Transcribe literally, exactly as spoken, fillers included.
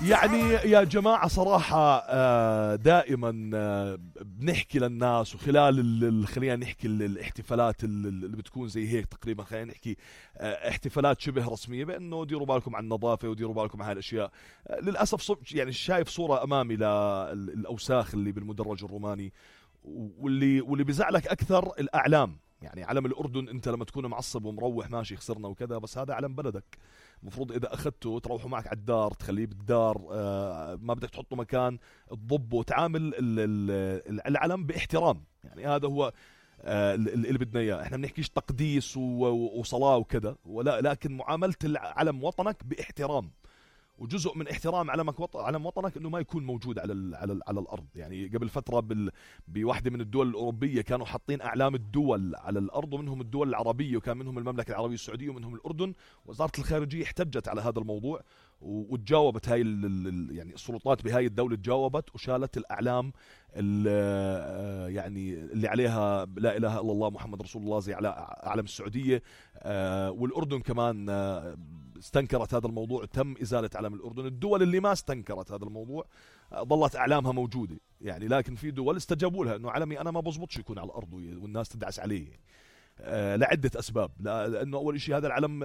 يعني يا جماعة صراحة دائما بنحكي للناس وخلال خلينا نحكي الاحتفالات اللي بتكون زي هيك تقريبا، خلينا نحكي احتفالات شبه رسمية، بأنه ديروا بالكم عن النظافة وديروا بالكم عن هالأشياء. للأسف يعني شايف صورة أمامي للأوساخ اللي بالمدرج الروماني، واللي واللي بزعلك أكثر الأعلام. يعني علم الأردن أنت لما تكون معصب ومروح ماشي خسرنا وكذا، بس هذا علم بلدك، المفروض إذا أخذته تروحوا معك على الدار، تخليه بالدار، آه ما بدك تحطه مكان تضبه وتعامل العلم باحترام. يعني هذا هو آه اللي بدنا إياه. إحنا بنحكيش تقديس وصلاة وكذا، ولا لكن معاملة العلم وطنك باحترام. وجزء من احترام علمك وط... علم وطنك انه ما يكون موجود على ال... على ال... على الارض. يعني قبل فتره بال... بواحده من الدول الاوروبيه كانوا حاطين اعلام الدول على الارض، ومنهم الدول العربيه، وكان منهم المملكه العربيه السعوديه ومنهم الاردن. وزاره الخارجيه احتجت على هذا الموضوع و... وتجاوبت هاي ال... ال... يعني السلطات بهاي الدوله تجاوبت وشالت الاعلام ال... يعني اللي عليها لا اله الا الله محمد رسول الله زي على اعلام السعوديه. والاردن كمان استنكرت هذا الموضوع، تم إزالة علم الأردن. الدول اللي ما استنكرت هذا الموضوع ظلت أعلامها موجودة يعني، لكن في دول استجابوا لها أنه علمي أنا ما بزبطش يكون على الأرض والناس تدعس عليه، لعدة أسباب. لأنه أول شيء هذا العلم